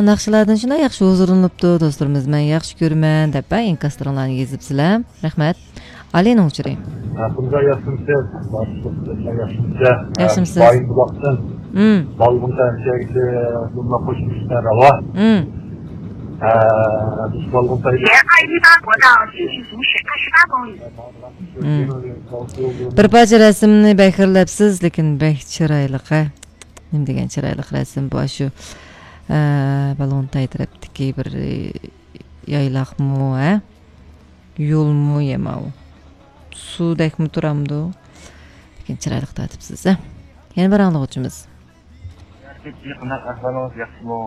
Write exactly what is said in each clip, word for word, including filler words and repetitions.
ناخشىلاردىن شۇنداق ياخشى ھۇزۇرلىنىپتۇ، دوستلىرىمىز مەن ياخشى كۆرىمەن دەپ ئىنكاسلىرىڭلارنى يېزىپسىلەر. رەھمەت. ئالىنىڭ ئۇچۇرى. ھەقىمىزگە ياخشىمىسىز؟ باشلىق، سىزگە ياخشىمىسىز؟ ياخشىمىسىز؟ بايىنبۇلاقتىن. مم. بالغۇن تەنچەگىچە بۇنداق قوشۇلۇشتا راۋا. مم. ھە، بىز بالغۇن تەنچە. مم. بىر پارچە رەسىمنى بەك خىرلەپسىز، لېكىن بەك چىرايلىق، ھە. نېمە دېگەن چىرايلىق رەسىم بۇ، شۇ، ئە، بالغۇنتاي تەرەپتىكى بىر، ئە، يايلاقمۇ، ھە؟ يولمۇ يا ماۋۇ؟ سۇدەكمۇ تۇرامدۇ؟ لېكىن چىرايلىق تارتىپسىز، ھە؟ يەنە بىر ئاڭلىغۇچىمىز. قانداق ئەھۋالىڭىز، ياخشىمۇ؟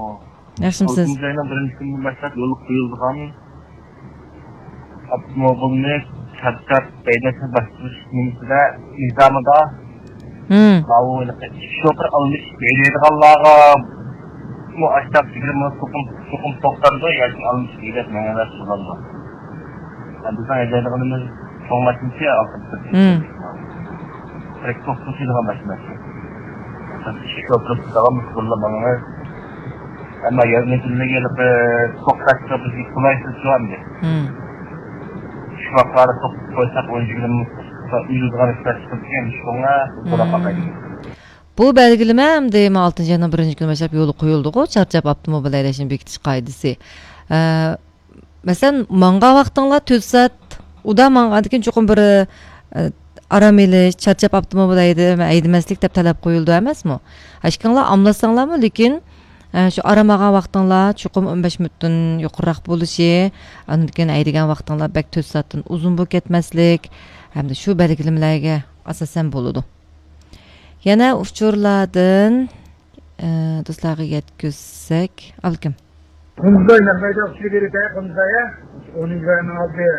ياخشىمۇسىز؟ ئالتىنچى ئاينىڭ بىرىنچى كۈنىدىن باشلاپ يولغا قويۇلىدىغان ئاپتوموبىلنى چارچاپ ھەيدەشنى باشقۇرۇش نېمىسىدە، نىزامىدا، مم، ماۋۇ شوپۇر ئالمىشىپ ھەيدەيدىغانلارغا مۇ ئاشتاق يىگىرمە چوقۇم، چوقۇم توختامدۇ ياكى ئالمىشىپ ھەيدەپ مېڭىۋەرسە بولامدۇ؟ بىزنىڭ ھەيدەيدىغىنىمىز چوڭ ماشىنىچە، مم. تىرەكتور توشۇيدىغان ماشىنا. شوپۇر داۋاملىق يولدا ماڭىمىز. ئەمما يەرنى بىلمىگەنلىكى توختاشقا بىزگە قولايسىز شۇ ئەمدى. مم. شۇ ۋاقىتلاردا توختىتىپ قويساق، ئون يىگىرمە مىنۇت ئۆلىدىغان ئىشلار چىقىپ كېتىدىكەن، شۇڭا بۇ بۇ بەلگىلىمە ئەمدى مانا ئالتىنچى ئاينىڭ بىرىنچى كۈنى باشلاپ يولغا قويۇلدىغۇ، چارچاپ ئاپتوموبىل ھەيدەشنى بېكىتىش قائىدىسى. ئە، مەسىلەن، ماڭغان ۋاقتىڭلار تۆت سائەت، ئۇدا ماڭغاندىن كېيىن چوقۇم بىر، ئە، ئارام ئېلىش، چارچاپ ئاپتوموبىل ھەيدە-، ھەيدىمەسلىك دەپ تەلەپ قويۇلىدۇ ئەمەسمۇ؟ ئىككىڭلار ئاملاشساڭلارمۇ، لېكىن، ئە، شۇ ئارام ئالغان ۋاقتىڭلار چوقۇم ئون بەش مىنۇتتىن يۇقىرىراق بولۇشى، ئاندىن كېيىن ھەيدىگەن ۋاقتىڭلار بەك تۆت سائەتتىن ئۇزۇن بولۇپ كەتمەسلىك ھەمدە شۇ بەلگىلىمىلەرگە ئاساسەن بولىدۇ. يەنە ئۇچۇرلاردىن، ئە، دوستلارغا يەتكۈزسەك، ئابلىكىم. قۇمزاي نەق مەيدان ئۇچۇرى بېرىپ، قۇمزاي، ئونىنچى رايوننىڭ ئالدى،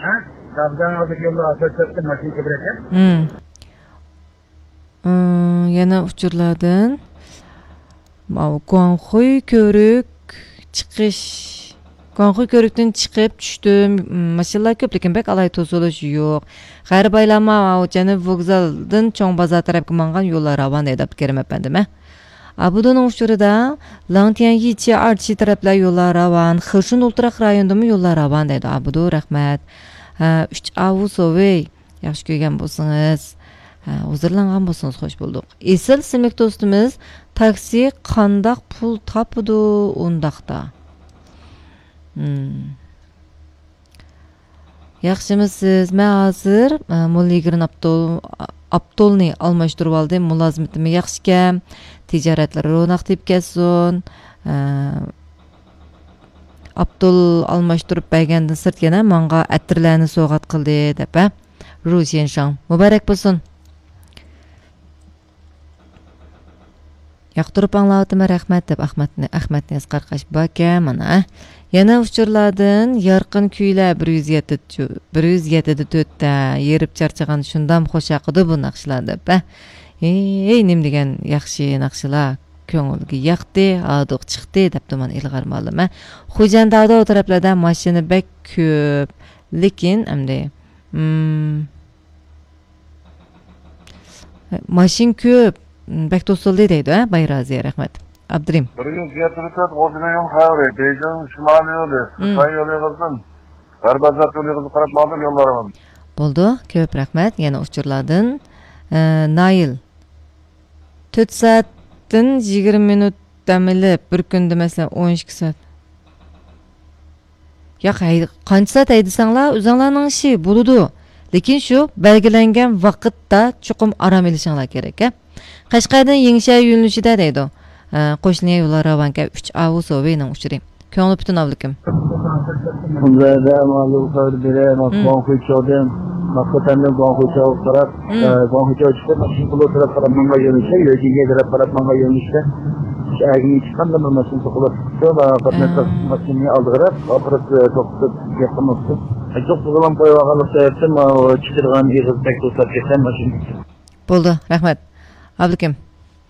ھە؟ دابدان ئالدىدىكى يولدا ئاسفالت ماشىنا كۆپرەك. مم. ئىم، يەنە ئۇچۇرلاردىن. ماۋۇ گۇاڭخۇي كۆۋرۈك چىقىش، گۇاڭخۇي كۆۋرۈكتىن چىقىپ چۈشتۈم. ماشىنىلار كۆپ، لېكىن بەك ئالاھىدە توسۇلۇش يوق. غەربىي ئايلانما، ماۋۇ جەنۇبىي ۋوگزالدىن چوڭ بازار تەرەپكە ماڭغان يوللار راۋان دەيدۇ ئابدۇكېرىم ئەپەندىم، ھە. ئابۇدۇنىڭ ئۇچۇرىدا، لاڭتيەن يىچى ئارچى تەرەپلەر يوللار راۋان، خېشۇن ئولتۇراق رايونىدىمۇ يوللار راۋان دەيدۇ. ئابۇدۇ، رەھمەت. ھە، ئۈچ ئاۋۇ سوۋېي. ياخشى كۆرگەن بولسىڭىز، ھە، ھۇزۇرلانغان بولسىڭىز خوش بولدۇق. ئېسىل ئىسىملىك دوستىمىز، تاكسى قانداق پۇل تاپىدۇ ئۇنداقتا؟ مم. ياخشىمۇسىز؟ مەن ھازىر، ئە، موللا يىگىرمە ئاپتول-، ئاپتولنى ئالماشتۇرۇۋالدىم. مۇلازىمىتىمۇ ياخشىكەن. تىجارەتلىرى روناق تېپىپ كەتسۇن. ئە، ئاپتول ئالماشتۇرۇپ بەرگەندىن سىرت يەنە ماڭا ئەتىرلەرنى سوۋغات قىلدى، دەپ، ھە؟ رۇ شيەنشاڭ، مۇبارەك بولسۇن. ياقتۇرۇپ ئاڭلاۋاتىمەن، رەھمەت، دەپ ئەخمەتنى، ئەخمەتنى ئەسقەر قاش باركەن، مانا، ھە؟ يەنە ئۇچۇرلاردىن يارقىن كۈيلەر بىر يۈز يەتتە، بىر يۈز يەتتە تۆتتە، يېرىپ چارچىغان شۇندام خوش ياقىدۇ بۇ ناخشىلار، دەپ، ھە؟ ھېي، نېمە دېگەن ياخشى ناخشىلار، كۆڭۈلگە ياقتى، ھاردۇق چىقتى، دەپتۇ مانا ئىلغار مۇئەللىم، ھە. خوجەنداۋدا ئۇ تەرەپلەردە ماشىنا بەك كۆپ، لېكىن ئەمدى، مم، ماشىنا كۆپ، بەك توسۇلدى دەيدۇ، ھە، بايرازى، رەھمەت. ئابدۇرېھىم. بىر يۈز يەتتە تۆت غوجىنىڭ يول خەۋىرى، بېيجىڭ شىمالىي يولى، مم، خىتاي يولى قىزىل. غەربىي ئازاد يولى قاراپ ماڭدىم يوللارغا. بولدى، كۆپ رەھمەت. يەنە ئۇچۇرلاردىن، ئە، نايىل. تۆت سائەتتىن يىگىرمە مىنۇت دەم ئېلىپ، بىر كۈندە مەسىلەن ئون ئىككى سائەت. ياق، ھەي، قانچە سائەت ھەيدىسەڭلار، ئۆزۈڭلارنىڭ ئىشى بولىدۇ. لېكىن شۇ بەلگىلەنگەن ۋاقىتتا چوقۇم ئارام ئېلىشىڭلار كېرەك، ھە. قەشقەردىن يېڭىشەھەر يۆنىلىشىدە دەيدۇ. ئە، قوشنىيە يوللار راۋانكەن، ئۈچ ئاۋۇ سوۋېينىڭ ئۇچۇرى. كۆڭلى پۈتۈن ئابلىكىم. خۇنزەيدە ماۋۇ خەۋەر بېرە، ماۋۇ، مم، گۇاڭخۇيچاۋدىن، ماقۇتەندىن گۇاڭخۇيچاۋغا قاراپ، مم، ئە، گۇاڭخۇيچاۋ چىقىپ، ماشىنا پۇلى تەرەپ قاراپ ماڭغان يۆنىلىشتە، يۆجىنگە تەرەپ قاراپ ماڭغان يۆنىلىشتە، شۇ ئەگىمگە چىققاندا بىر ماشىنا توختاپ كېتىپتۇ، ماۋۇ قاتناش، ئە، ماشىنىنى ئالدىغا قاراپ، ئاخىرى، ئە، توختىتىپ گەپ قىلماپتۇ. جوق بۇزۇلام قويۇۋالغانلىقى سەۋەبتىن، ماۋۇ چىقىدىغان ئېغىز بەك توساپ كەتكەن ماشىنا. بولدى، رەھمەت. ئابلىكىم.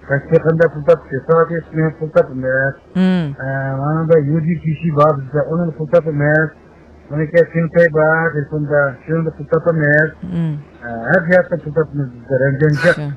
تاكسى قانداق پۇل تاپتى؟ سائەت يېتىپ مېڭىپ پۇل تاپىمىز. مم. ئە، مانا بىر يۇجى كىشى بار بىزدە، ئۇنىڭ پۇل تاپىمىز. مانا كەل سىنپەي بار، تېلېفوندا، شۇنىڭدا پۇل تاپىمىز. مم. ئە، ھەر جەھەتتىن پۇل تاپىمىز بىزدە، رەنجەنجاق. شۇ.